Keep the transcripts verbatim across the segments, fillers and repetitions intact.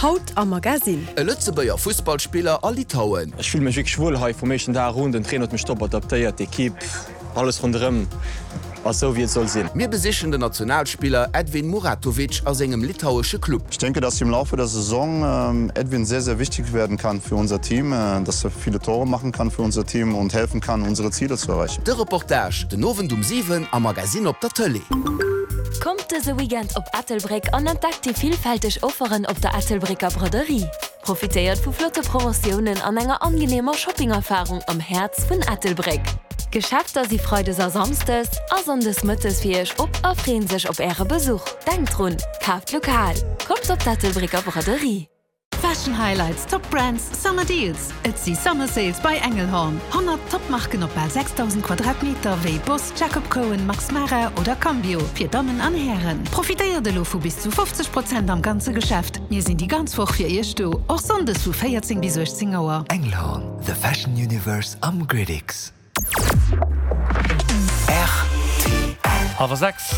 Haut am Magasinn. E Lëtzebuerger Fussballspiller a Litauen. Ech fille mech wierklech wuel hei vum éischten Dag un. Den Trainer huet mech top adaptéiert, d'Ekipp, alles ronderëm ass esou wéi et soll sinn. Mir besichen den Nationalspiller Edvin Muratovic a sengem litauesche Club. Ich denke, dass im Laufe der Saison Edvin sehr, sehr wichtig werden kann für unser Team, dass er viele Tore machen kann für unser Team und helfen kann, unsere Ziele zu erreichen. De Reportage den Owend um siwen am Magasinn op der Tëlee. Kommt dëse Weekend op Ettelbréck an entdeckt déi villfälteg Offeren op der Ettelbrécker Braderie. Profitéiert vu flotte Promotiounen an enger angeneemer Shopping-Erfarung am Häerz vun Ettelbréck. D'Geschäfter si freides a samsdes a sonndes mëttes fir iech op a freeën sech op äre Besuch. Denkt drun, kaaft lokal! Kommt op d'Ettelbrécker Braderie! Fashion Highlights, Top Brands, Summer Deals. Et si Summer Sales bei Engelhorn. Honnert Top-Marken op bal sechstausend Quadratmeter wéi Boss, Jacob Cohen, Max Mara oder Cambio fir Dammen an Hären. Profitéiert elo vu bis zu fofzeg Prozent am ganze Geschäft. Mir sinn déi ganz Woch fir Iech do, och Sonndes vu véierzéng bis uechtzéng Auer. Engelhorn, the fashion universe am Gridix. R T L. Hallwer sechs.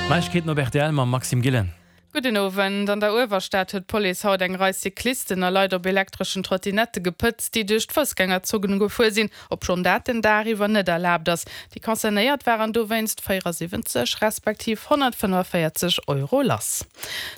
Neiegkeeten op R T L mam Maxime Gillen. Gudden Owend. An der Uewerstad huet d'Police haut eng Rei Cyclisten a Leit op elektreschen Trottinette gepëtzt, déi duerch d'Foussgängerzon gefuer sinn, obschonn dat den Dag iwwer net erlaabt ass. Déi Concernéiert waren dowéinst véierasiwwenzeg respektiv honnertfënnefavéierzeg Euro lass.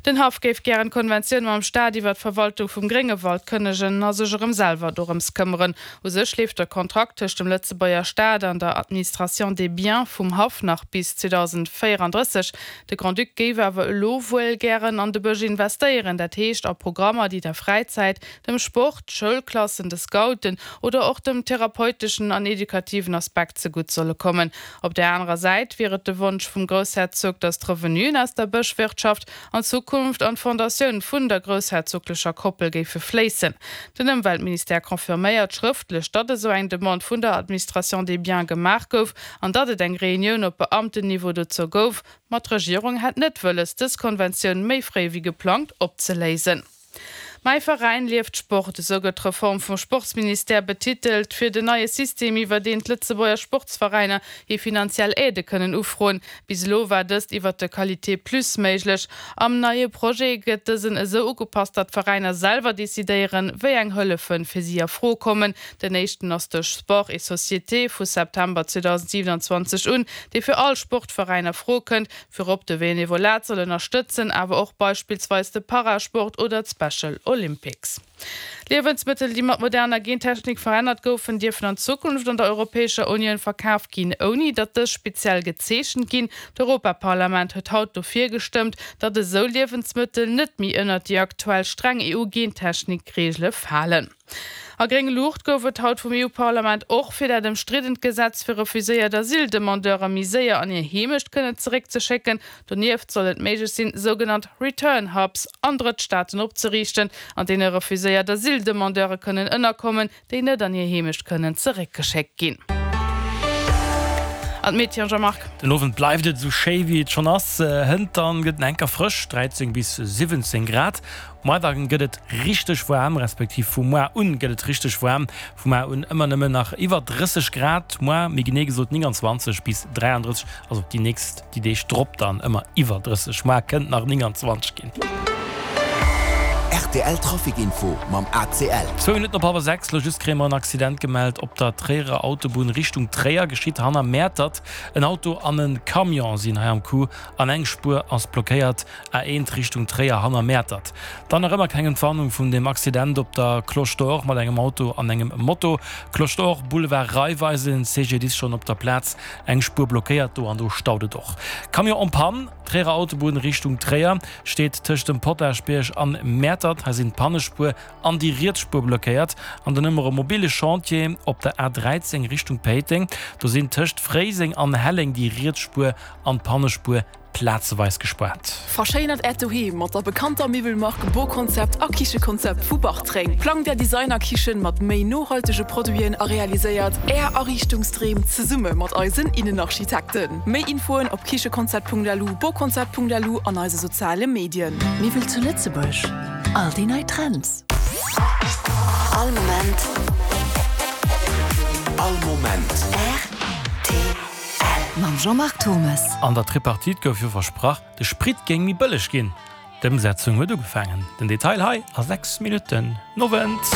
Den Haff géif gären d'Konventioun mam Staat iwwer d'Verwaltung vum Gréngewald kënnegen a sech erëm selwer dorëms këmmeren. U sech leeft de Kontrakt tëscht dem Lëtzebuerger Staat an der Administration des biens vum Haff nach bis zweedausendvéierandrësseg. De Grand-Duc géif awer elo wuel gären an de Bësch investéieren, dat heescht a Programmer, déi der Fräizäit, dem Sport, Schoulklassen, de Scouten oder och dem therapeuteschen an edukativen Aspekt zegutt solle kommen. Op där anerer Säit wier et de Wonsch vum Groussherzog, datt d'Revenuen aus der Bëschwirtschaft an Zukunft an d'Fondatioun vun der groussherzoglecher Koppel géife fléissen. Den Ëmweltministère confirméiert schrëftlech, datt esou eng Demande vun der Administration des biens gemaach gouf an datt et eng Reunioun op Beamtenniveau dozou gouf. Ma d'Regierung hätt net wëlles, dës Konventioun méi fréi wéi geplangt opzeléisen. Mäi Veräin lieft Sport, esou gëtt d'Reform vum Sportsministère betitelt, fir den neie System, iwwer deen d'Lëtzebuerger Sportsveräiner hir finanziell Aidë kënnen ufroen. Bis elo war dëst iwwer de Qualité Plus méiglech. Am neie Projet gëtt dësen esou ugepasst, datt d'Veräiner selwer decidéieren, wéi eng Hëllefe fir si a Fro kommen. Den éischten ass de Sport et Société vu September zweedausendsiwenanzwanzeg un, dee fir all Sportveräin a Fro kënnt, virop de Benevolat soll ënnerstëtzen, awer och beispillsweis de Parasport oder d'Special Olympics. Liewensmëttel, déi mat moderner Gentechnik verännert goufen, dierfen an Zukunft an der Europäescher Unioun verkaf ginn, ouni datt dës speziell gezeechent ginn. D'Europaparlament huet haut dofir gestëmmt, datt esou Liewensmëttel net méi ënnert déi aktuell streng E U-Gentechnik-Reegele falen. A gréng Luucht gouf et haut vum E U-Parlament och fir dat ëmstriddent Gesetz, fir refuséiert Asyldemandeure méi séier an hir Heemecht kënnen zeréckzeschécken. Donieft soll et méiglech sinn, sougenannt Return Hubs an Drëttstaaten opzeriichten, an deene refuséiert Asyldemandeure kënnen ënnerkommen, déi net an hir Heemecht kënnen zeréckgeschéckt ginn. An d'Meteo, Jean-Marc. Den Owend bleift et esou schéi wéi et schonn ass. Hënt dann gëtt et enker frësch, dräizéng bis siwwenzéng Grad. Moar dann gëtt et richteg waarm, respektiv vu moar un gëtt et richteg waarm. Vu moar un ëmmer nëmmen nach iwwer drësseg Grad, moar méi genee gesot nénganzwanzeg bis dräiandrësseg, also déi nächst, déi Deeg drop dann ëmmer iwwer drësseg. Moar kënnt nach nénganzwanzeg ginn. R T L Trafic Info mam A C L. Zwou Minutten op hallwer sechs, Lo just kréie mer en Accident gemellt op der Tréierer Autobunn Richtung Tréier, geschitt hanner Mäertert. En Auto an en Camion sinn hei am Coup an eng Spuer ass blockéiert, A eent Richtung Tréier hanner Mäertert. Dann nach ëmmer keng Entwarnung vun dem Accident op der Cloche d'Or mat engem Auto an engem Moto. Cloche d'Or, Boulevard Raiffeisen, C G D I S schonn op der Plaz, eng Spuer blockéiert do an do staut et och. Camion en panne, Tréierer Autobunn Richtung Tréier, steet tëscht dem Potaschbierg an Mäertert. Hei sinn d'Pannespuer an déi riets Spuer blockéiert. An dann hu mer e mobile Chantier op der A dräizéng Richtung Péiteng. Do sinn tëscht Fréiseng an Helleng déi riets Spuer an d'Pannespuer plazeweis gespaart. Verschéinert Äert Doheem mat der bekannter Miwwelmark Boconcept a Kichekonzept vu Bartreng. Plangt Är Designer-Kichen mat méi nohaltege Produiten a realiséiert Är Ariichtungsdreem zesumme mat eisen Innenarchitekten. Méi Infoen op kichekonzept Punkt L U, boconcept Punkt L U an eise soziale Medien. Miwwel zu Lëtzebuerg, all déi nei Trends. All Moment. All Moment. R T L. Mam Jean-Marc Thommes. An der Tripartite gouf jo versprach, de Sprit géing méi bëlleg ginn. D'Ëmsetzung huet ugefaangen. Den Detail hei a sechs Minutten. Nowend.